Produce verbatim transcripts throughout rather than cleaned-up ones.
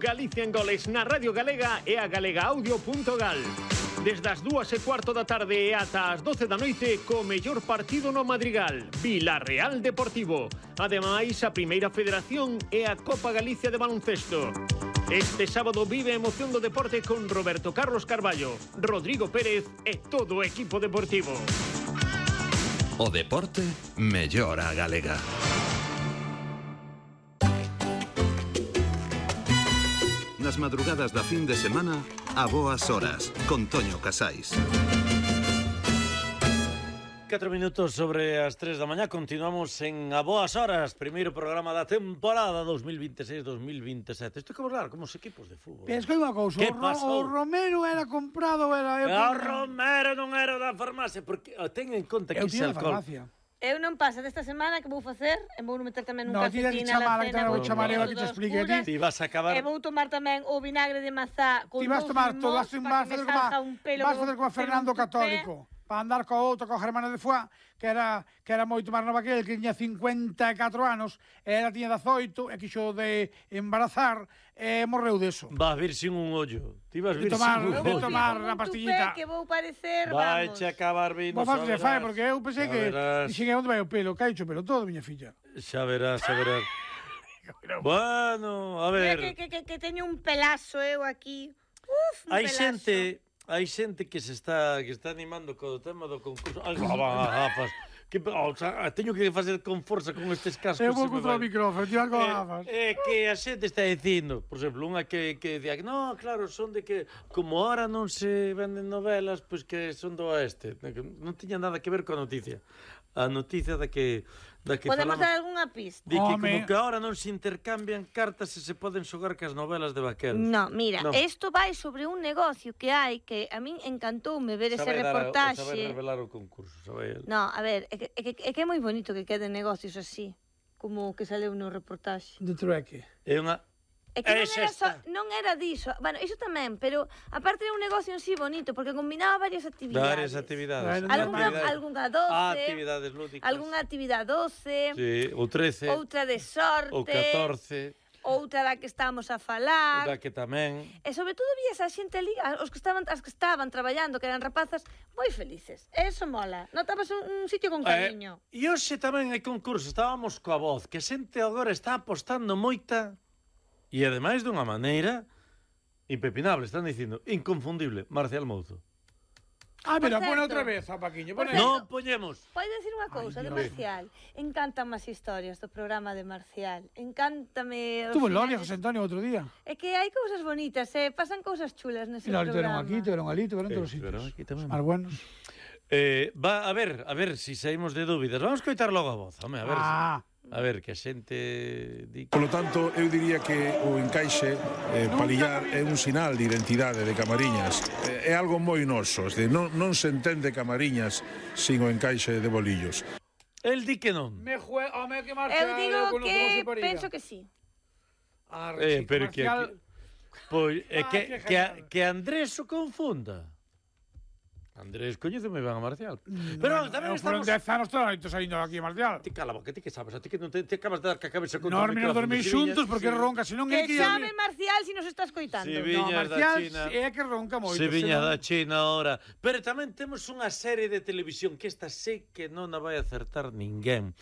Galicia en Goles na Radio Galega e a galegaaudio punto gal. Desde as dúas e cuarto da tarde e ata as doce da noite co mellor partido no Madrigal, Vilarreal Deportivo. Ademais, a Primeira Federación e a Copa Galicia de Baloncesto. Este sábado vive a emoción do deporte con Roberto Carlos Carballo, Rodrigo Pérez e todo o equipo deportivo. O deporte mellor a galega. Nas madrugadas da fin de semana, a boas horas, con Toño Casais. Catro minutos sobre as tres da mañá, continuamos en A Boas Horas, primeiro programa da temporada dos mil vinte e seis dos mil vinte e sete. Isto é como hablar como os equipos de fútbol. Penso que hai unha cousa, o, Ro o Romero era comprado, era... Eu o Romero non era da farmacia, porque ten en conta que ese alcohol... Eu non pasa desta semana que vou facer, e vou meter tamén un no, calcetín na la cena, vou chamar eu a que te explique a ti. Ti vas a acabar... E vou tomar tamén o vinagre de mazá con dous limóns. Ti vas tomar todo, vas facer como vas facer como Fernando Católico, para andar co outro, co Germano de Foix, que era que era moito máis nova que el, que tiña cincuenta e catro anos, e ela tiña dezoito, e quixo de embarazar, e morreu deso. Vas vir sin un ollo. Ti vas vir tomar, sin un ollo. De tomar na pastillita. Que vou parecer, vai vamos. Vai acabar vindo, xa verás. Fai, porque eu pensei que... Dixen, onde vai o pelo? Caicho pelo todo, miña filla. Xa verás, xa verás. Bueno, a ver... Que, que, que, que teño un pelazo eu aquí. Uf, un hai pelazo. xente... Hai xente que se está que está animando co tema do concurso. Ai, van a gafas. Que, o sea, teño que facer con forza con estes cascos. Eu vou contra o micrófono, tío, con gafas. É que a xente está dicindo, por exemplo, unha que, que decía que no, claro, son de que como ahora non se venden novelas, pois pues que son do oeste. Non tiña nada que ver coa noticia. A noticia da que da que podemos falamos, dar algunha pista. De que como que ahora non se intercambian cartas e se poden xogar cas novelas de vaqueros. No, mira, isto no. vai sobre un negocio que hai que a min encantoume ver ese reportaxe. Sabe revelar o concurso, sabe? No, a ver, é que, é que, é que é moi bonito que queden negocios así, como que saleu no reportaxe. De trueque. É unha É que non era, so, non era diso. Bueno, iso tamén, pero aparte era un negocio en sí bonito, porque combinaba varias actividades. Varias actividades. Algunha, algunha doce. Ah, actividades lúdicas. Algunha actividade doce. Sí, ou trece. Outra de sorte. Ou catorce. Outra da que estamos a falar. Da que tamén. E sobre todo vías a xente ali, os que estaban, as que estaban traballando, que eran rapazas, moi felices. Eso mola. Notabas un, un sitio con cariño. Eh, e hoxe tamén hai concurso, estábamos coa voz, que a xente agora está apostando moita. E ademais dunha maneira impepinable, están dicindo, inconfundible, Marcial Mouzo. Ah, mira, pon outra vez, a Paquiño. Non poñemos. Pode decir unha cousa de Marcial. Encantan as historias do programa de Marcial. Encántame... Tuvo Loria, José Antonio, outro día. É que hai cousas bonitas, eh? Pasan cousas chulas nese programa. Tiveron aquí, tiveron ali, tiveron todos os sitios. Más buenos. Eh, va, a ver, a ver, si saímos de dúbidas. Vamos coitar logo a voz, home, a ver. Ah. Si... A ver, que a xente... Di... Por lo tanto, eu diría que o encaixe eh, palillar é un sinal de identidade de Camariñas. Eh, é algo moi noso, de, non, non se entende Camariñas sin o encaixe de bolillos. El di que non. Me jue... Home, que Marcial... Eu digo que penso que sí. Ah, eh, pero Marcial... que... Pois, é que, ah, que, que, a, que Andrés o confunda. Andrés, coñece moi ben a Marcial. Pero bueno, tamén estamos... Foron dez anos toda a noite saindo aquí, Marcial. Ti cala boca, ti que sabes? A ti que non te, te acabas de dar que a cabeza contra no, o micrófono. Non, dormir xuntos porque sí. Ronca, senón... Que chame Marcial se nos estás coitando. Si no, Marcial é que ronca moito. Se viña da China ahora. Pero tamén temos unha serie de televisión que esta sei que non a vai acertar ninguén.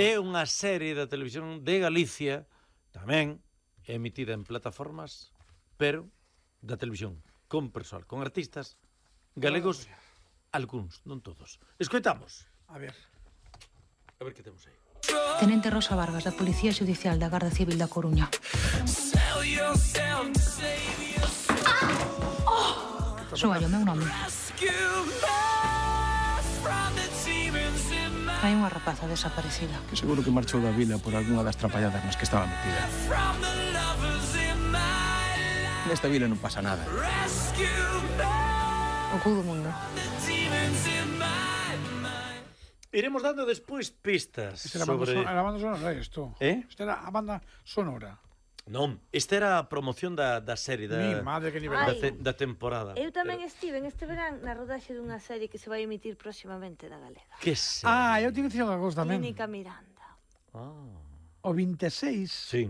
É unha serie de televisión de Galicia, tamén emitida en plataformas, pero da televisión, con persoal, con artistas galegos, algúns, non todos. Escoitamos. A ver. A ver que temos aí. Tenente Rosa Vargas, da Policía Xudicial da Garda Civil da Coruña. Ah! Oh! Soa o meu nome. Hai unha rapaza desaparecida. Que seguro que marchou da vila por algunha das trapalladas nas que estaba metida. Nesta vila non pasa nada. O cu do mundo. Iremos dando despois pistas Esta era sobre... a banda sonora, isto. Eh? Esta era a banda sonora. Non, esta era a promoción da, da serie da, Mi madre, que nivel. Da, te, da temporada. Eu tamén Pero... estive en este verán na rodaxe dunha serie que se vai emitir próximamente na Galega. Que serie? Ah, eu tive que dicir unha cousa tamén. Clínica Miranda. Ah. O vinte e seis sí.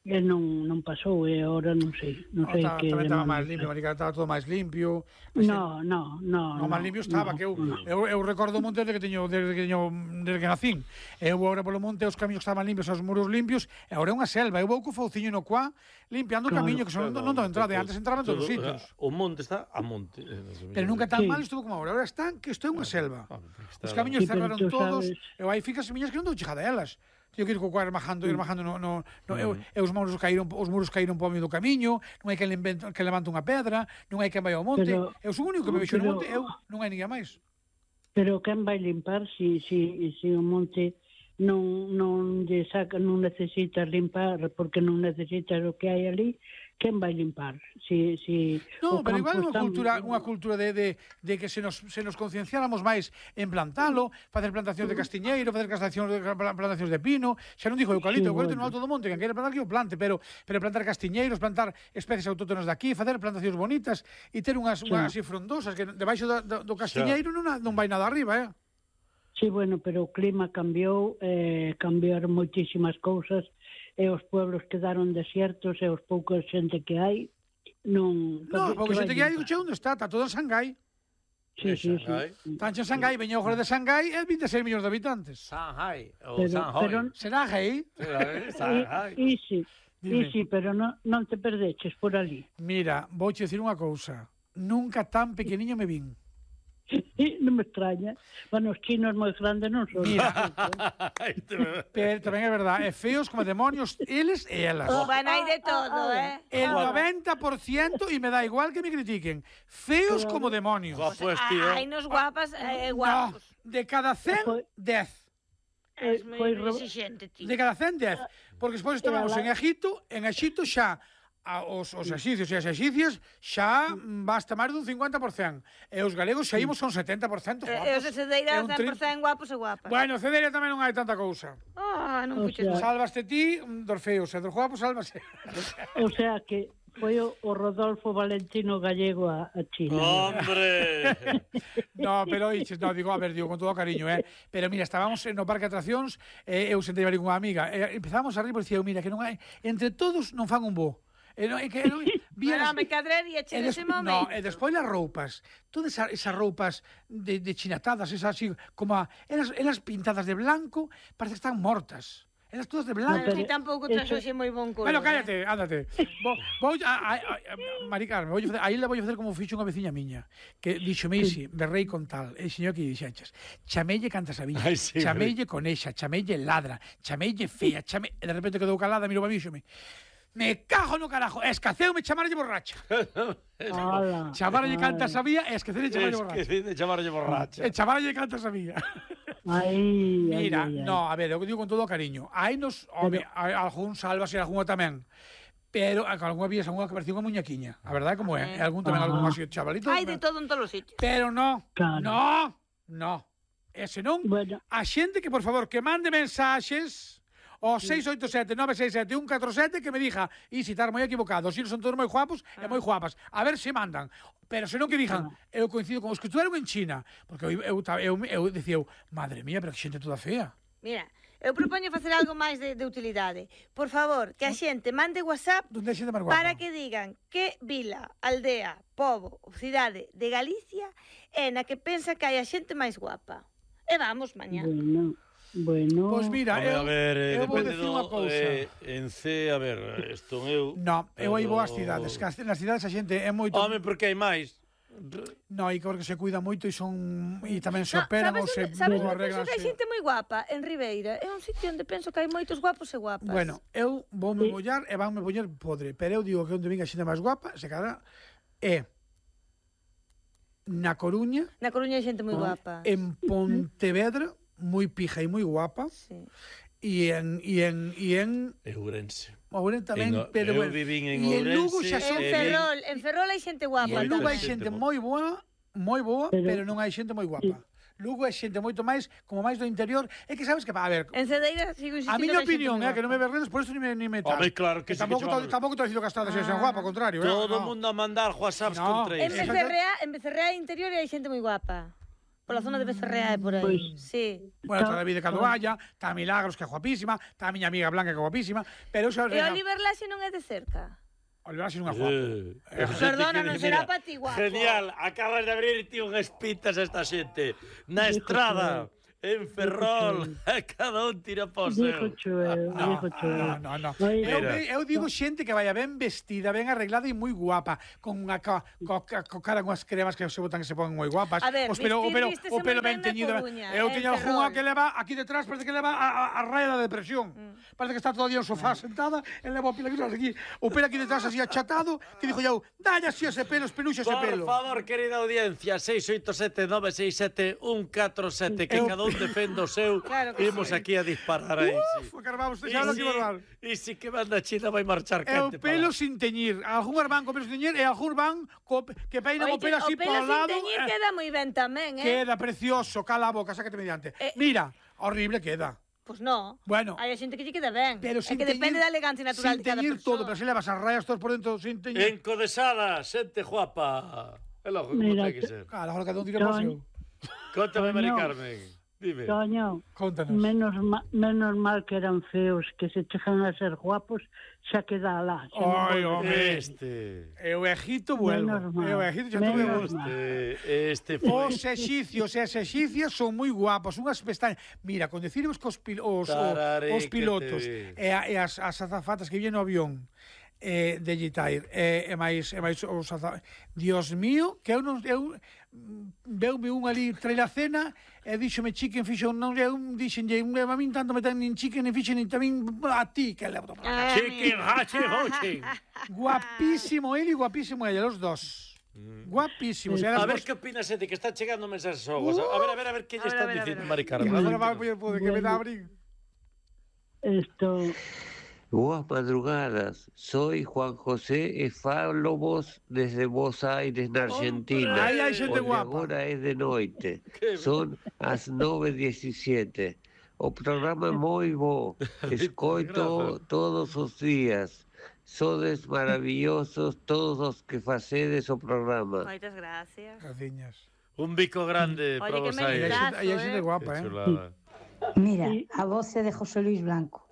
e non, non pasou, e agora non sei, non sei oh, que... Tamén estaba máis limpio, Marica, estaba todo máis limpio. No, no, no. No, máis limpio estaba, no, que eu, no. eu, eu recordo o monte desde que teño, desde que teño, desde que nacín. Eu vou agora polo monte, os camiños estaban limpios, os muros limpios, e agora é unha selva. Eu vou co fauciño no cuá, limpiando o Claro, camiño, que son, claro, non, non entrada, todo- antes entraban todos os todo- sitios. O monte está a monte. Pero nunca tan Sí. mal estuvo como agora. Agora están que isto é unha selva. Ah, porque está- Os camiños Sí, pero cerraron tú todos, sabes- e aí ficas semiñas que non dou chegada a elas. Tío que ir co cuá ermajando, ermajando no, no, no eu, e os muros caíron, os muros caíron po medio do camiño, non hai que levante, que levante unha pedra, non hai que vai ao monte. Pero- eu sou o único que me vexo no pero- monte, eu non hai ninguén máis. Pero quen vai limpar se si, si, si o monte non, non lle saca, non necesita limpar, porque non necesita o que hai ali, quen vai limpar? Si, si No, o pero campo igual unha está- cultura, unha cultura de, de, de que se nos, se nos concienciáramos máis en plantalo, facer plantacións de castiñeiro, facer plantacións de, plantacións de pino, xa non dixo eucalipto, Sí, eucalipto bueno. no alto do monte, que queira plantar que o plante, pero, pero plantar castiñeiros, plantar especies autóctonas de aquí, facer plantacións bonitas e ter unhas, unhas así frondosas, que debaixo do, do, do castiñeiro non, ha- non vai nada arriba, eh? Sí, bueno, pero o clima cambiou, eh, cambiaron moitísimas cousas, e os pueblos quedaron desiertos, e os poucos xente que hai, non... No, porque vai xente que hai, limpar? che onde está, está todo en Shanghai. Sí, sí, sí. Shanghai. Tancho en Shanghai, veña o de Shanghai, é vinte e seis millóns de habitantes. Shanghai. O Pero- Shanghai. pero- Será Hei? Shanghai. E, e sí, Dime. e sí, pero non, non te perdeches por ali. Mira, vou che dicir unha cousa. Nunca tan pequeniño me vin. Non me extraña. Bueno, os chinos moi grandes non son. Mira. Pero tamén é verdade, é feos como demonios, eles e elas. Bueno, hai de todo, eh? El noventa por ciento, e me da igual que me critiquen, feos como demonios. Guapo es, Ah, tío. hai nos guapas e eh, No, guapos. de cada cen, dez. Es moi foi ro- exigente, tío. De cada cen, dez. Porque despois estábamos en Egipto, en Egipto xa a, os, os exicios e as exicias xa mm, basta máis dun cincuenta por cento. E os galegos xa imos son setenta por cento E os de Cedeira É un cen por cento guapos e guapas. Bueno, Cedeira tamén non hai tanta cousa. Ah, non O puxes sea- mal. Salvaste ti mm, dos feos, e dos guapos salvase. O sea que foi o, o Rodolfo Valentino Gallego a, a China. Hombre. No, pero oiches, no, digo, a ver, digo, con todo cariño, eh. Pero mira, estábamos no parque de atraccións, eh, eu sentei ali con unha amiga, e empezamos a rir, porque dicía, mira, que non hai, entre todos non fan un bo. E non, e que non, Pero me cadrería che E nese des- momento. No, e despois as roupas, todas esa, esas roupas de, de chinatadas, esas así, como a, elas, elas pintadas de blanco, parece que están mortas. Elas todas de blanco. Bueno, ti tampouco traes hoxe moi bon color. Bueno, eh. cállate, ándate. Vou, vou a, a, a, a Mari Carmen, vou facer, aí la vou facer como fixo unha veciña miña, que dixo Meisi, berrei con tal, e dixo que dixenches, chamelle canta sabía, Ai, sí, chamelle conexa, chamelle ladra, chamelle fea, chame... E de repente quedou calada, mirou a mí e dixome, me cajo no carajo, escaceume chamarlle borracha. Ala, Chamarlle canta ala. sabía e esquecerlle chamarlle Es borracha. que de chamarlle borracha. E chamarlle canta sabía. Ai, Mira, ai, ai, ai. no, a ver, eu digo con todo o cariño. Hai nos, home, hai algún salvas e algunha tamén. Pero a algunha vías algunha que parecía unha muñequiña. A verdade como é. E algún tamén algún así chavalito. Hai de todo en todos os sitios. Pero no, Claro. no, no. E senón, Bueno, a xente que, por favor, que mande mensaxes ao seis oito sete nove seis sete un catro sete que me diga, e se estar moi equivocado, os son todos moi guapos e moi guapas. A ver se mandan. Pero senón que digan, eu coincido con os que estudaron en China, porque eu, eu, eu, eu, eu dicía, eu, madre mía, pero que xente toda fea. Mira, eu propoño facer algo máis de, de utilidade. Por favor, que a xente mande WhatsApp Donde hai xente máis guapa? para que digan que vila, aldea, pobo ou cidade de Galicia é na que pensa que hai a xente máis guapa. E vamos mañá. bueno, bueno. Pois mira, Home, eu, a ver, eh, eu vou depende decir unha do... cousa. Eh, en C, a ver, estou eu... No, eu aí vou ás pero- cidades, que as- nas cidades a xente é moito... Home, porque hai máis. No, e porque se cuida moito e son e tamén se No, operan sabes ou se onde- sabes ou onde penso que hai arreglanse. xente moi guapa? En Ribeira. É un sitio onde penso que hai moitos guapos e guapas. Bueno, eu vou me bollar e van me poñer podre, pero eu digo que onde venga xente máis guapa, se cara é na Coruña, Na Coruña hai xente moi guapa. en Pontevedra, moi pija e moi guapa, Sí. e en e en e en Ourense. Ourense tamén, En O- pero eu bueno. vivín en e en Lugo Ourense xa En son e vi- Ferrol, en Ferrol hai xente E guapa. en Lugo hai Xente xente mo- moi boa, moi boa, Pero- pero non hai xente moi guapa. Lugo é xente moito máis, como máis do interior. É que sabes que, a ver, En Cedeira sigo insistindo a miña que hai xente opinión moi é que non me guapa. verredes, por eso ni me, ni me tal. Home, claro que sí que tampouco, che vamos. tampouco te dicindo que as tradas sexan guapa, ao contrario. Todo eh, o no. mundo a mandar whatsapps No. con En tres. Esa- Becerrea, en Becerrea interior hai xente moi guapa. Pola zona de Becerrea e por aí. Pois. Sí. Bueno, está David de Cadoalla, está Milagros, que é guapísima, está a miña amiga Blanca, que é guapísima, pero... E Oliver Laxe non é de cerca? Oliver Laxe non é guapo. Eh, Perdona, non será para ti guapo. Genial, acabas de abrir ti unhas pitas a esta xente. Na estrada, en Ferrol, a cada un tira po seu. Dijo Chuel, dijo Chuel. No, no, no. Eu, eu digo xente que vaya ben vestida, ben arreglada e moi guapa, con unha ca, co, co cara con as cremas que se botan que se pongan moi guapas. A ver, os pelo, vestir, o pelo, vístese o pelo moi ben ben na teñido. Coruña, Eu en teño algunha Ferrol. que leva aquí detrás, parece que leva a, a, a raya da depresión. Mm. Parece que está todo día en sofá sentada, e leva o pelo aquí, o pelo aquí detrás así achatado, que dixo eu, dalle así ese pelo, espeluxa ese pelo. Por favor, querida audiencia, seis oito sete nove seis sete un catro sete, que cada un defenda o seu. Claro que Imos sí. aquí a disparar aí. Uf, Sí. que vamos, E xa lo si, que normal. e si que van da China vai marchar É o quente. pelo para- sin teñir. Algúns van co pelo sin teñir e algúns van co, que peinan o Oite, pelo así o pelo polo sin lado. teñir eh, queda moi ben tamén, eh? Queda precioso, cala a boca, sácate mediante. Eh, Mira, horrible queda. Pois non. Bueno. Hai a xente que lle queda ben. Pero é sin que depende teñir- da elegancia natural sin de cada teñir persoa. todo, pero se levas as rayas todas por dentro sin teñir. Encodesada, xente guapa. É logo como Mira, ten que ser. Claro, ahora cada un tira por Toño. seu. Contame, Mari Toño. Carmen. Dime. Toño, Contanos. menos, ma, menos mal que eran feos, que se chegan a ser guapos, xa queda alá. xa non Ai, volve. home. Este. E o Egito vuelvo. Menos mal. E o Egito xa Menos tuve. mal. Este, este foi. Os exicios e as exicias son moi guapos, unhas pestañas. Mira, con decirvos que os, pil os, Tarare, os pilotos que te e, a, e as, as azafatas que vienen no avión eh, de Gitair e, e máis, e máis os azafatas. Dios mío, que eu non... Eu, veume un ali traer a cena e díxome chicken fixo non eu dixenlle un a min tanto me ten nin chicken nin fixo nin tamén a ti que levo para Ah, Chicken, hachi, hochi. guapísimo ele e guapísimo ella los dos guapísimos A eran ver dos. que opina xente que está chegando mensaxes xogos. A ver, a ver, a ver que lle A ver, están a ver, a dicindo ver. Mari Carmen. Agora vai poder poder que me dá abrir. Esto, Buenas madrugadas, soy Juan José e falo vos desde Buenos Aires, na Argentina. Aí hai xente Onde guapa. agora é de noite, Que son as nove e diecisiete. O programa é moi bo, escoito todos os días. Sodes maravillosos todos os que facedes o programa. Moitas gracias. Graciñas. Un bico grande Oye, para que vos me aí. digas. Aí hai xente eh. guapa, Que eh. chulada. Mira, a voz é de José Luis Blanco.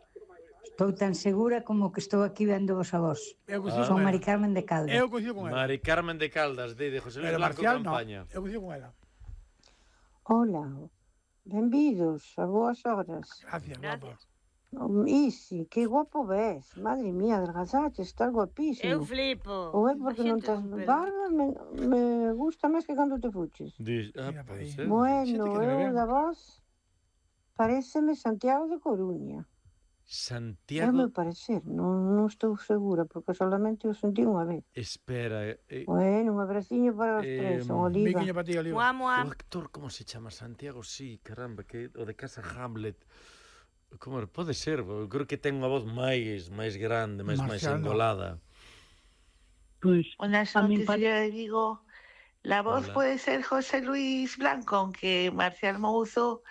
Estou tan segura como que estou aquí vendo vos a vos. Eu coincido Son con Mari ela. Carmen de Caldas. Eu coincido con ela. Mari Carmen de Caldas, de, de José Luis Pero Blanco Marcial no. Campaña. Eu coincido con ela. Hola, benvidos a boas horas. Gracias, guapa. Gracias. Oh, Isi, que guapo ves. Madre mía, adelgazaste, estás Eu guapísimo. flipo. Ou é porque A non xente tes con pelo. barba, me, me gusta máis que cando te fuches. Dis, ah, Mira, pode aí. ser. Bueno, xente que me eu ven. da voz pareceme Santiago de Coruña. É o Santiago, meu parecer, non, non estou segura, porque solamente o sentí unha vez. espera, eh, Bueno, un abraciño para os Eh, tres, son Un Oliva. biquiño para ti, Oliva. Moa, moa. o actor, como se chama? Santiago, sí, caramba, que o de Casa Hamlet. Como era? Pode ser, eu creo que ten unha voz máis máis grande, máis máis Marcial, no. engolada. pues, Buenas A mí noches, pare- señora de Vigo. La voz Hola. puede ser José Luis Blanco, aunque Marcial Mouzo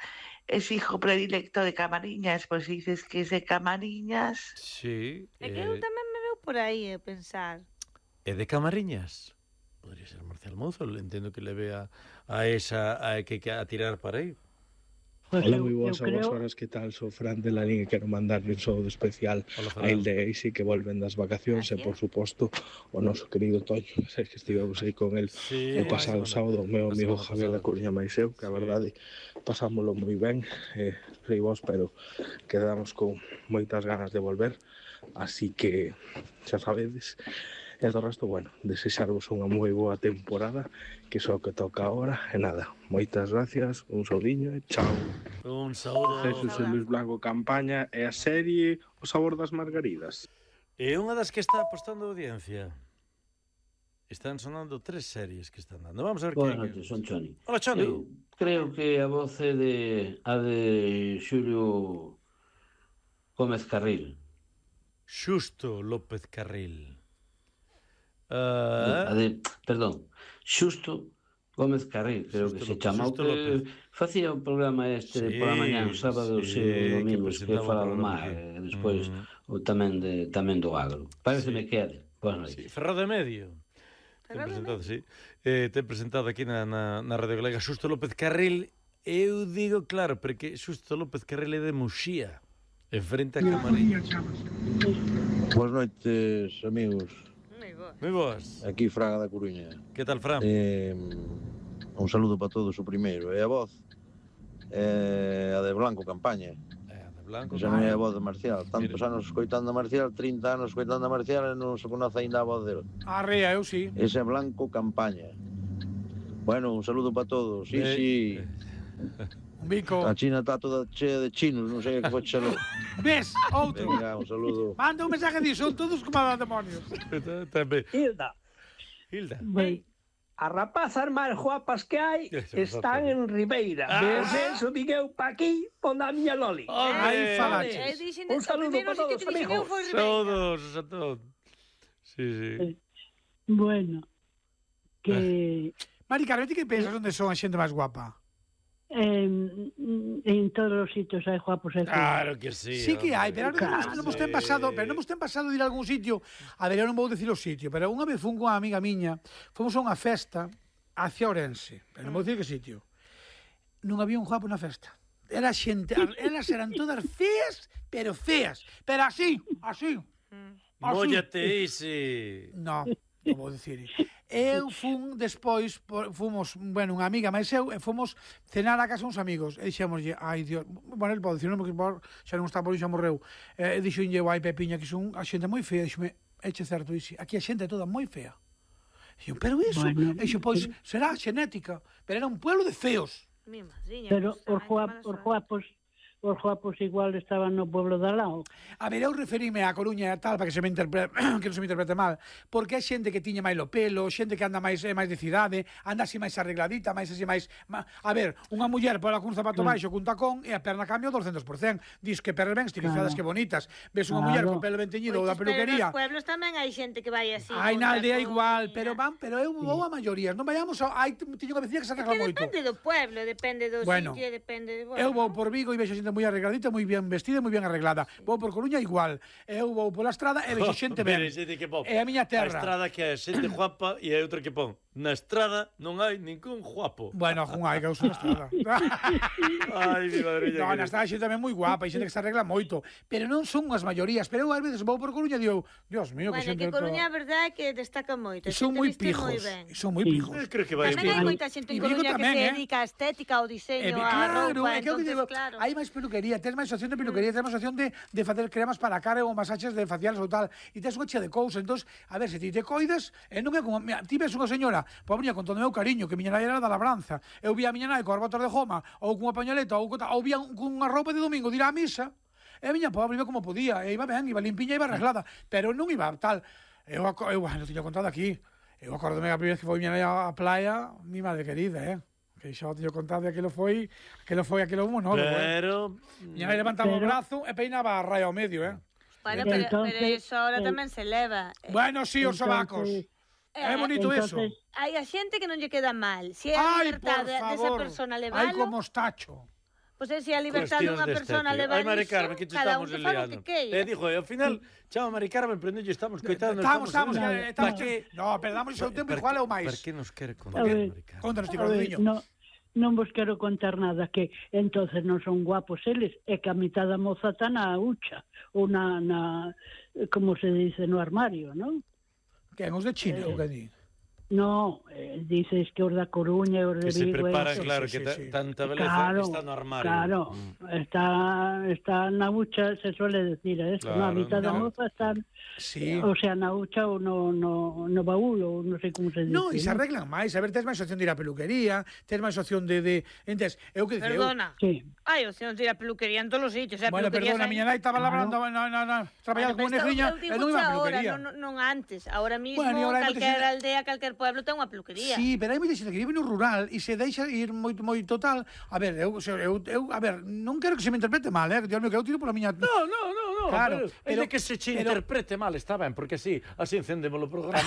es hijo predilecto de Camariñas, pues si dices que es de Camariñas. Sí. É que eu eh, tamén me veu por aí a pensar. É de Camariñas. Podría ser Marcial Mouzo, entendo que le vea a esa a que, que a tirar para aí. pues Hola, eu, moi eu boas a vos creo... horas, que tal? Sou Fran de Larín e quero mandarle un saúdo especial Hola, a Fernando. Ilde e Eisi, que volven das vacacións, e Gracias. por suposto o noso querido Toño, que sei que estivemos aí con el Sí, o pasado a sábado, o meu a amigo semana Javier da pasada. Coruña máis eu, que a Sí. verdade pasámoslo moi ben, eh, sei vos, pero quedamos con moitas ganas de volver, así que xa sabedes. E do resto, bueno, desexarvos unha moi boa temporada, que só que toca agora, e nada, moitas gracias, un saudiño e chao. Un saúdo. Jesús Luis Blanco Campaña e a serie O sabor das margaridas. É unha das que está apostando a audiencia. Están sonando tres series que están dando. Vamos a ver Boas que... noches, son Choni. Hola, Choni. Eu creo que a voz é de a de Xulio Gómez Carril. Xusto López Carril. A Uh, de, perdón, Xusto Gómez Carril, creo Xusto que se López, chama. O Xusto que López. facía o programa este Sí, pola mañá, sábado sí, e que domingos, que, presentaba o fala do programa mar, aquí. e despois Mm. o tamén de tamén do agro. Pareceme Sí. que é de. Boas noites. sí, Ferro de Medio. ten presentado, sí. Eh, ten presentado aquí na, na, na Radio Galega Xusto López Carril. Eu digo, claro, porque Xusto López Carril é de Muxía, en frente a Camariñas. Boas noites, amigos. Moi boas. Aquí Fraga da Coruña. Que tal, Fran? Eh, un saludo para todos o primeiro. E a voz é a de Blanco Campaña. Blanco, Esa non é a voz de Marcial. Tantos anos escoitando a Marcial, trinta anos escoitando a Marcial e non se conoce ainda a voz dele. Arrea, eu sí. Ese é Blanco Campaña. Bueno, un saludo para todos. Sí, eh, sí. Un bico. A China está toda chea de chinos, non sei que foi chelo. Ves, outro. Venga, un saludo. Manda un mensaje disso, son todos como a demonios. Hilda. Hilda. Bem. As rapazas máis guapas que hai están en Ribeira. Ah. Desde eso digueu pa aquí, pon a miña Loli. Aí falaches. Un saludo para todos, amigos. Saludos a todos. Sí, sí. Bueno, que... Mari Carmen, ti que pensas onde son a xente máis guapa? En, en todos os sitios hai guapos e feos. Claro que sí. Sí que hai, pero claro, non vos ten pasado, pero non vos ten pasado de ir a algún sitio. A ver, eu non vou dicir o sitio, pero unha vez fun con unha amiga miña, fomos a unha festa hacia Ourense, pero non vou dicir que sitio. Non había un guapo na festa. Era xente, elas eran todas feas, pero feas, pero así, así. Móllate ese. No, non vou dicir. Eu fun despois, fomos, bueno, unha amiga máis eu, e fomos cenar a casa uns amigos. E dixémoslle, ai, Dios, bueno, el pode dicir, non, porque xa non está por xa morreu. E dixolle, ai, Pepiña, que son a xente moi fea. Dixome, eche certo, dixo, aquí a xente é toda moi fea. Dixo, pero iso, bueno, dixo, pois, será xenética, pero era un pueblo de feos. Mi madriña. Pero os guapos, os guapos, os guapos igual estaban no pueblo de Alao. A ver, eu referime a Coruña e tal, para que se me interprete, que non se me interprete mal, porque é xente que tiña máis o pelo, xente que anda máis máis de cidade, anda así máis arregladita, máis así máis... A ver, unha muller pola cun zapato claro. baixo, cun tacón, e a perna cambia o doscientos por cento. Dis que pernas ben estilizadas, claro. que bonitas. Ves unha claro. muller con pelo ben teñido ou da peluquería. Pero nos pueblos tamén hai xente que vai así. Hai na aldea igual, pero van, pero eu vou a maiorías. Non vayamos a... Hai, tiño que vecina que se arregla moito. Depende do pueblo, depende do bueno, sitio, depende... Bueno, eu vou por Vigo e vexo xente moi arregladita, moi bien vestida e moi ben arreglada. Vou por Coruña igual. Eu vou pola estrada e vexo xente ben. É a miña terra. A estrada que é xente guapa e hai outra que pon. Na estrada non hai ningún guapo. Bueno, jun hai que usa na estrada. Ai, mi madriña. No, na estrada hai xente tamén moi guapa, hai xente que se arregla moito, pero non son as maiorías. Pero eu ás veces vou por Coruña e digo, Dios mío, que bueno, xente... Bueno, que Coruña a verdade é que destaca moito. E son moi pijos. E son moi pijos. Eu creo que vai tamén hai moita xente en Coruña que se dedica á estética, ao diseño, á roupa, entonces, claro. Hai máis peluquería, tens máis opción de peluquería, tens máis opción de, de facer cremas para a cara ou masaxes de faciales ou tal, e tens unha chea de cousas. Entón, a ver, se ti te coidas, e non é como... Mira, ti ves unha señora, pobriña, con todo o meu cariño, que miña nai era da labranza, eu vi a miña nai coas botas de goma, ou cunha pañoleta, ou, ou vía cunha roupa de domingo de ir á misa, e a miña pobre iba como podía, e iba ben, iba limpiña, iba arreglada, pero non iba tal. Eu, eu, bueno, tiño contado aquí, eu acordome a primeira vez que foi miña nai á playa, mi madre querida, eh? Que xa o tiño contado, e aquilo foi, aquilo foi aquilo monólogo, pero... eh? Miña nai levantaba pero... o brazo e peinaba a raya ao medio, eh? Bueno, pero, entonces, pero eso ahora eh, tamén se leva. Bueno, sí, os sobacos. É bonito entonces, eso. Hai a xente que non lle queda mal. Se é a libertade desa persona levalo... Ai, como estacho. Pois é, se a libertade dunha persona levalo... Ai, Mari Carmen, que te estamos liando. Te digo, ao final, chama Mari Carmen, pero non lle estamos coitando. Estamos, estamos, estamos. No, pero damos o seu tempo igual é o máis. Per que nos quere contar, Mari Carmen? Contanos, ti, Cordillo. No, non vos quero contar nada, que entonces non son guapos eles, é que a mitad da moza está na hucha, ou na, na, como se dice, no armario, non? Que, os de China, ou que di? No, eh, dices que os da Coruña e os de Vigo... Que se preparan, eso, claro, sí, que sí, sí. tanta beleza claro, está no armario. Claro, mm. está, está na hucha, se suele decir, ¿eh? Claro, no, a mitad no. da moza están, sí. o sea, na hucha ou no, no, no baúl, ou non sei como se dice. No, e se arreglan máis, a ver, tens máis opción de ir á peluquería, tens máis opción de... de... Entens, eu que dicía... Perdona, eu... sí. hai opción de ir á peluquería en todos os sitios. Bueno, perdona, a miña nai estaba labrando, no, no, no, traballando como negriña, e non iba á peluquería. Non, non antes, ahora mismo, bueno, calquer aldea, calquer pueblo ten unha peluquería. Sí, pero hai moita xente que vive no rural e se deixa ir moito moito tal. A ver, eu, eu, eu a ver, non quero que se me interprete mal, eh, Dios mío, que eu tiro pola miña... No, no, no, no. Claro, pero, pero de que se che pero... interprete mal, está ben, porque así, así encendemos o programa.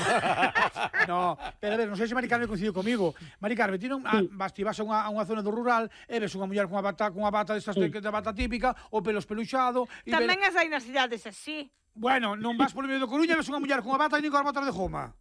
No, pero a ver, non sei se Mari Carmen coincidiu comigo. Mari Carmen, ti non sí. vas, ti vas a unha, a unha zona do rural e ves unha muller cunha bata, cunha bata destas sí. de, de bata típica, o pelo espeluxado... Tamén ver... as hai nas cidades así. Bueno, non vas polo medio do Coruña e ves unha muller cunha bata e nin coas botas de goma.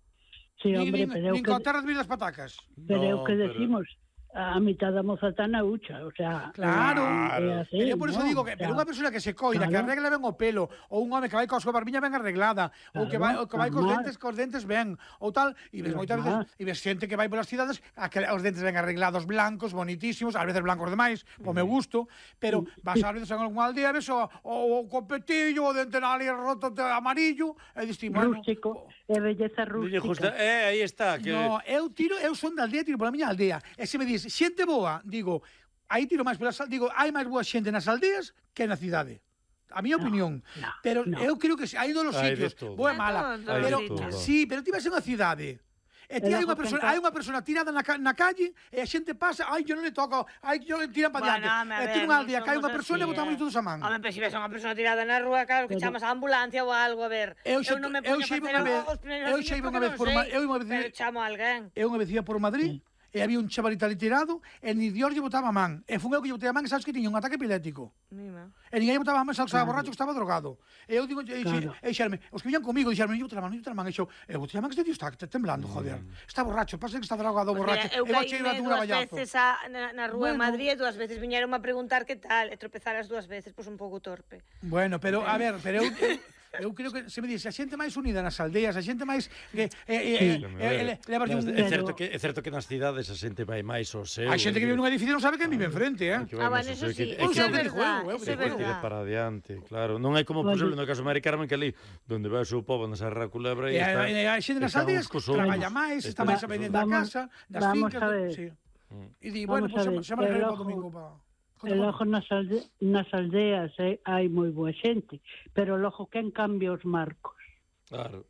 Sí, hombre, pero nin con terra de vir das patacas. Pero é o que decimos, a mitad da moza está na hucha, o sea... Claro, é así, pero por iso ¿no? digo que pero unha persona que se coida, que claro. arregla ben o pelo, ou un home que vai coa súa barbiña ben arreglada, ou que vai, ou que vai cos normal. dentes, cos dentes ben, ou tal, e ves moitas veces, e ves xente que vai polas cidades, a que os dentes ben arreglados, blancos, bonitísimos, ás veces blancos demais, po meu gusto, pero vas ás veces en algunha aldea, ves o, o, o copetillo, o dente ali roto de amarillo, e diste, bueno... Rústico, é belleza rústica. Eh, aí está. Que... No, eu tiro, eu son da aldea, tiro pola miña aldea, e se me dis, xente boa, digo, aí tiro máis polas aldeas, digo, hai máis boa xente nas aldeas que na cidade. A miña opinión. No, pero no. eu creo que hai dos Hai sitios, de todo. boa e mala. Hai de Pero, todo. sí, pero ti vas a unha cidade, e ti hai unha persona, hai unha persona tirada na, na calle, e a xente pasa, ai, yo non le toco, ai, yo le tiran para Bueno, diante. home, a E ver, ti nunha non aldea que hai unha somos persona e así, botamos eh. todos a man. Home, pero se ves a unha persona tirada na rúa, claro que Pero- chamas a ambulancia ou algo, a ver. Eu xa- non me eu poño a xa iba facer unha vez- os primeiros eu años xa iba porque unha vez non por sei, Ma- eu iba a decir- pero chamo a alguén. Eu unha vez ia por Madrid, e había un chavalito ali tirado, e ni Dios lle botaba a man. E fun eu que lle botei a man, e sabes que tiña un ataque epiléptico. Mima. E ninguén lle botaba a man, sabes que estaba Claro. borracho, que estaba drogado. E eu digo, e, Claro. e, e xerme, os que viñan comigo, dixerme, eu botei a man, eu botei a man, e xo, eu botei a man, que este tío está temblando, joder. Está borracho, pasa que está drogado, Pues borracho. mira, eu E vou cheio caíme un dúas raballazo. veces a, na, na rúa Bueno. en Madrid e dúas veces viñeron a preguntar que tal, e tropezar as dúas veces, pois un pouco torpe. Bueno, pero, a ver, pero eu... eu Eu creo que se me dice, a xente máis unida nas aldeas, a xente máis que eh, eh, eh, eh, levarlle un... É certo que é certo que nas cidades a xente vai máis ao seu. A xente que vive nun edificio non sabe quen vive enfrente, eh? Ah, bueno, eso sí, Eu eso é sei o que digo verdad, eu, eu eso é digo eu. verdad. para adiante, claro. Non é como por exemplo no caso de Mari Carmen que ali donde vai o seu pobo na Serra Culebra E e a, está. e a xente nas están aldeas uns cos outros. traballa máis, está máis a vender da Vamos- casa, das vamos fincas... a ver. Sí. Mm. E di, bueno, Vamos pois a ver, pues, chama el para o ojo- domingo pa... E logo nas, alde, nas aldeas eh, hai moi boa xente, pero logo quen cambia os marcos? Claro.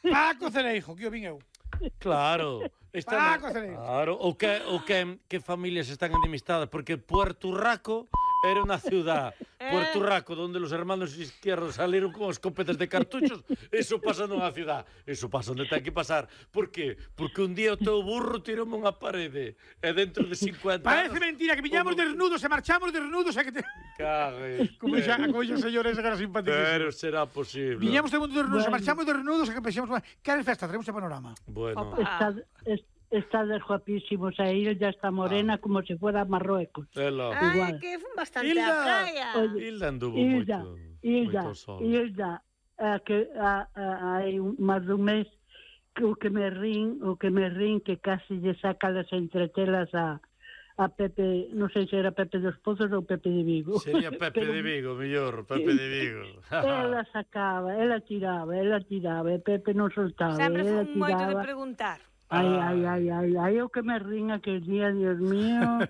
Paco Cereijo, que o vin eu. Claro. Está Paco Cereijo. Claro, o que o que que familias están enemistadas porque Puerto Rico era una ciudad. Puerto Rico, donde los hermanos izquierdos salieron con escopetas de cartuchos, eso pasa nunha ciudad. Eso pasa onde ten que pasar. Por qué? Porque un día o teu burro tirou unha parede e dentro de cincuenta Parece anos... mentira que viñamos desnudos e marchamos desnudos e que te... Cague. Como xa, como xa señores agora simpaticísimos. Pero será posible. Viñamos todo mundo desnudos, e Bueno. marchamos desnudos e que pensamos, que era festa, traemos a panorama. Bueno. Está, es, estades guapísimos, a Ilda está morena como se fuera Marruecos. Ela. Ai, Igual. que fun bastante Hilda. á praia. Oye, Hilda anduvo Ilda, moito. Ilda, moito sol. Ilda, a que a, a, hai un, máis dun mes que o que me rin, o que me rin que casi lle saca las entretelas a a Pepe, non sei se era Pepe dos Pozos ou Pepe de Vigo. Sería Pepe Pero de Vigo, mellor, Pepe de Vigo. ela sacaba, ela tiraba, ela tiraba, e Pepe non soltaba, Sempre ela fun moito de tiraba. preguntar. Ai, ai, ai, ai, ai, o que me rin aquel día, Dios mío,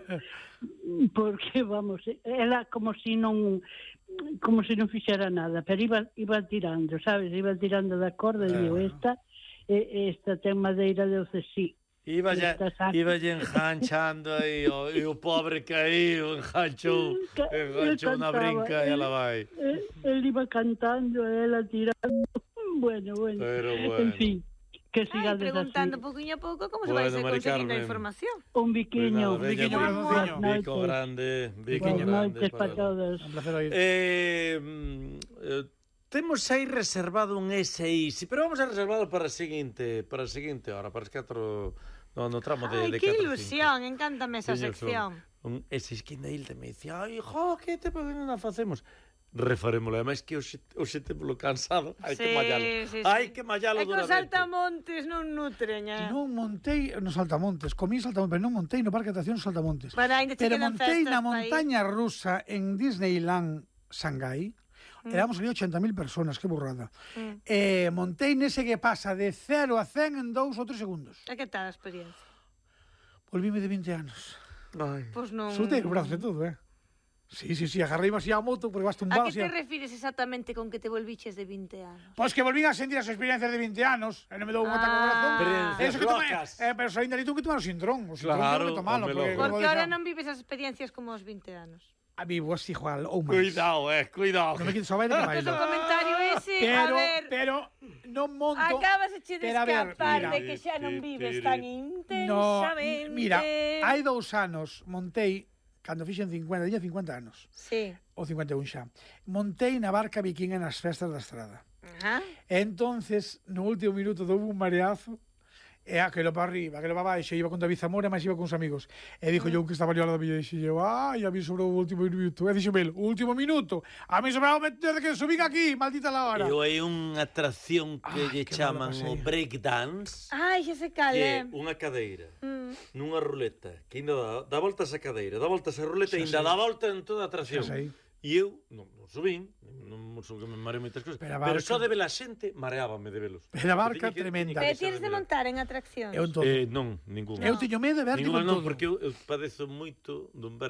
porque, vamos, ela como si non como si non fixera nada, pero iba, iba tirando, sabes, iba tirando da corda e digo, esta, e, esta ten madeira de ocesí. Iba ya, Esta saca- iba ya enganchando aí, o, e o pobre caíu, enganchou, enganchou na cantaba, brinca e ela vai. Eh, Él iba cantando, ela tirando, bueno, bueno, Pero en bueno. fin, que Ai, sigades preguntando así. pouquinho a pouco como se Bueno, vai Mari conseguindo a Carmen. información. Un biquiño, Cuidado, veña, biquiño, bico, biquiño. bico grande, bico Buenas grande. noches para todos. Un placer oír. Eh, mm, eh, temos aí reservado un S I, sí, pero vamos a reservado para a seguinte, para a seguinte hora, para as catro, no, no tramo de, Ai, de que catro, ilusión, encántame esa Tiño sección. Un S I que na Hilda me dicía, ai, jo, que te non a facemos? Refarémoslo, además que hoxe, hoxe temolo cansado, hai que Sí, mallalo. sí, sí. Hai que mallalo É que os duramente. saltamontes non nutren, eh? Non montei nos Saltamontes, comí Saltamontes, pero non montei no Parque de Atraccións Saltamontes. Bueno, ainda che Pero quedan montei festas na pa ir. montaña rusa en Disneyland Shanghai. Mm. Éramos ali ochenta mil personas, que burrada. Mm. Eh, montei nese que pasa de cero a cen en dous ou tres segundos. E que tal a experiencia? Volvíme de vinte anos. Ai. Pois non... Soltei o brazo e todo, eh? Sí, sí, sí, agarrei así a moto porque vas A tumbado que así. te refires exactamente con que te volviches de vinte anos? Pois que volvín a sentir as experiencias de vinte anos, e non me dou un ataque ao corazón. Experiencias Eso que tomei, locas. eh, pero saín dali tú que tomar o sintrón. O sintrón Claro, tengo que tomalo, home, porque... loco. Porque como ahora deixa- non vives as experiencias como os vinte anos. A vivo así igual, ou máis. Cuidado, eh, cuidado. Non me quites o baile que Entón, bailo. o comentario ese, Pero, a ver, pero, non monto... acabas de pero a ver, escapar mira. de que xa non vives tan intensamente. No, mira, hai dous anos montei, cando fixen cincuenta, tiña cincuenta anos, Sí. ou cincuenta e un xa, montei na barca vikinga nas festas da estrada. Ajá. Entonces, no último minuto houve un mareazo, e aquelo para arriba, aquelo para baixo, iba con David Zamora, mas iba con os amigos. E dixo yo que estaba ali ao lado da miña, e dixo eu, ai, a mí sobrou o último minuto. E dixo Mel, o último minuto, a mí sobrou desde que subín aquí, maldita la hora. E hai unha atracción que lle chaman o breakdance, Ai, xa se cal, que é. é unha cadeira, Mm. nunha ruleta, que ainda dá, dá voltas a cadeira, dá voltas a ruleta e ainda dá volta en toda a atracción. Xa sei. E eu, non, non subín, non sou que me mareo moitas cousas, Pero a pero barca- só de ver a xente, mareábame de velos. Pero a barca Tiña que- tremenda. tiña Pero que tienes de saber. montar en atraccións? Eu en todo. Eh, non, ningún. Eu teño medo de vértigo Ningún en non, todo. porque eu, eu padezo moito dun vértigo